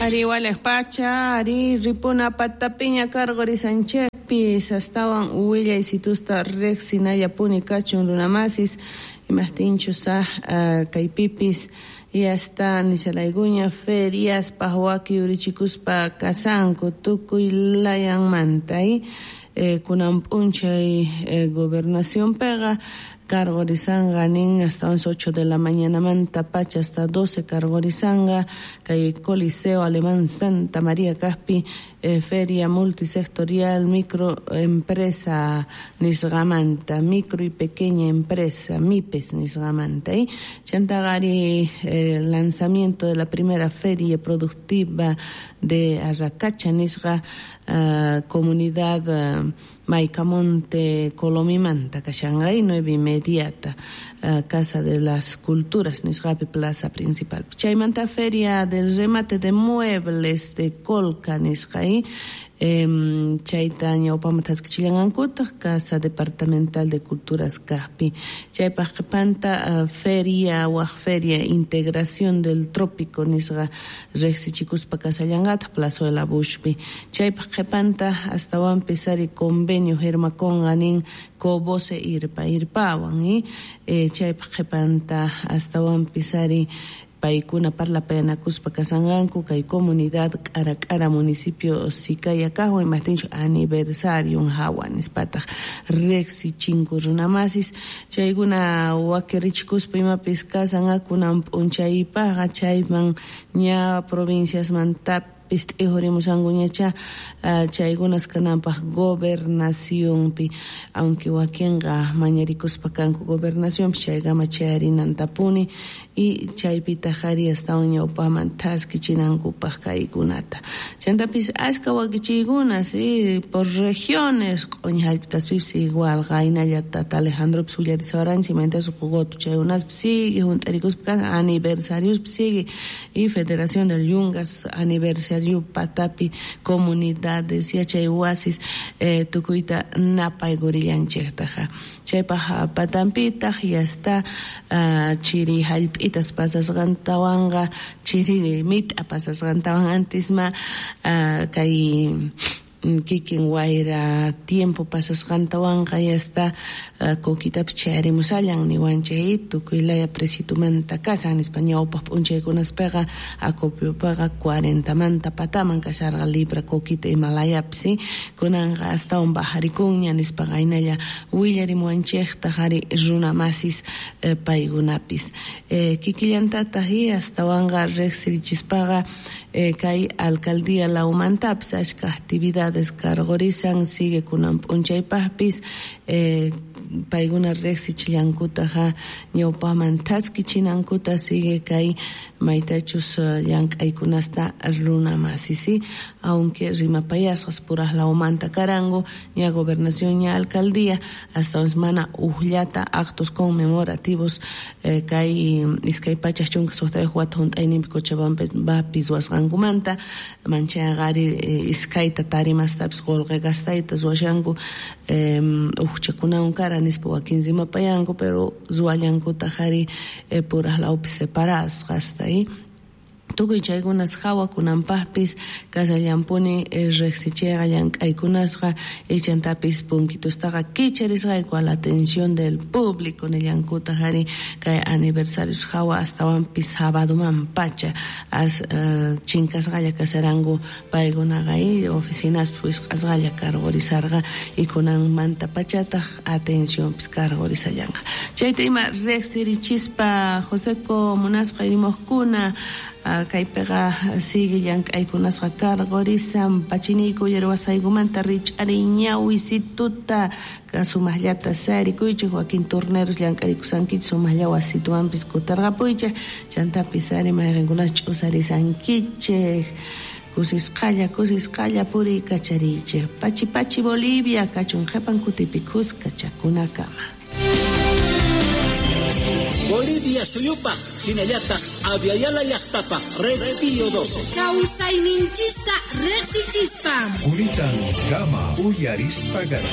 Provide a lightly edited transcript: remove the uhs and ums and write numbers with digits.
Ari walej pacha, ari ripuna patapiña karqurisanchikpis astawan willaysitusta riqsinallapuni kachun runamasis imajtinchus kaypipis yasta nishalaykuña feriaspaj waki yurichikuspa kasanku tukuy layanmanta kunan p'unchay gobernacionpiqa karqurisanqa nin hasta 8 de la mañanamanta pacha hasta 12 karqurisanqa kay Coliseo Alemán Santa María kaqpi feria multisectorial microempresa nisqamanta micro y pequeña empresa MIPES nisqamanta chantaqa ari lanzamiento de la primera feria productiva de Arracacha nisqa comunidad Maicamonte Colomimanta kashanqa 9:30 Casa de las Culturas nisqapi plaza principal. Chaymanta feria del remate de muebles de Colca nisqa chayta ñawpama thaskichillanqankutaq Casa Departamental de Culturas kaqpi. Chaypaq qhipanta feria waq feria integración del trópico nisqa riqsichikuspa kasallanqataq Plazuela Bushpi. Chaypaq qhipanta astawanpis ari convenio firmakunqa nin Cobose irpa irpawan chaypaq qhipanta astawanpis ari paykuna parlapayanakuspa kasanqanku kay comunidad K'ara K'ara municipio Sicaya kaqwan imajtinchu aniversario hawa nispataq riqsichinku runamasis chaykuna wakirichikuspa imapis kasan kunan p'unchaypaqqa chayman ña provinciasmantapis t'ijurimusankuñacha chaykunas kananpaq gobernacionpi aunque wakinqa mañarikuspa kanku gobernacionpi chaykama chayarinantapuni y chaypitaq ari astawan ñawpaman thaskichinankupaq kaykunata chantapis ashka wakichiykuna sí por regiones q'uñi hallp'itaspipis igual qaynallata Alejandropis willarisawaranchik imaynatas Qogoto chaykunaspis sigue hunt'arikuspa kan aniversariospis sigue y Federación del Yungas aniversario patapi comunidades yachay wasis tukuyta napaykurillanchiktaqa chaypaq patanpitaq yasta chiri hallp'itas pasasqantawanqa chiri mit'a pasasqantawan antisma kay kikin wayra tiempo pasasqantawanqa yasta kokitapis chayarimusallan niwanchik tukuy laya precitumanta kasan nispa ñawpaq p'unchaykunaspiqa acopiopiqa 40manta pataman kasharqa libra kokita imalayapis kunanqa astawan bajarikunña nispa qaynalla willarimuwanchiktaq ari runamasis paykunapis kikillantataq astawanqa riqsirichispaqa kay alcaldía lawmantapis ashka actividades karqurisan sigue kunan p'unchaypaqpis paykuna riqsichillankutaqa ñawpaman thaskichinankuta sigue kay maytachus llank'aykunasta runamasis aunque rimapayasqas puraq lawmanta karanku ña gobernación ña alcaldía hasta mana ujllata actos conmemorativos kay 2016 wata hunt'ayninpi Cochabambapi ruwasqankumanta manchayqa ari iskayta tarimastapis qullqi gastayta ruwashanku ujchakunawan kara nispa wakin rimapayanku pero ruwallankutaq ari puraq lawpi separasqasta tukuy chaykunas hawa kunanpaqpis kasallampuni riqsichiyqa llank'aykunasqa ichantapis punkitustaqa kicharisqayku a la atención del público nillankutaq ari kay aniversarios hawa astawanpis sabaduman pacha as chinkasqalla kasaranku paykunaqa oficinaspi wisq'asqalla karqurisarqa y kunanmanta pachataq atencionpis karqurisallanqa chayta ima riqsirichispa Joseco munasqa rimuqkuna kaypiqa sigue llank'aykunasqa karqurisan pachiniyku uyariwasqaykumanta rich'ariy ñawisituta sumaqllata sarikuychik wakin turneros llank'arikusankichik sumaqlla wasituwanpis kutarqapuychik chantapis ari mayqinkunas ch'usarisankichik kusisqalla kusisqalla puriykachariychik pachi pachi Bolivia kachun qhipan kutipi kuska chakunakama. Bolivia suyupaq hinallataq Aviala llaqtapaq Red Pío 12. Kawsayninchista riqsichispa. Kuritan kama uyarispa garqa.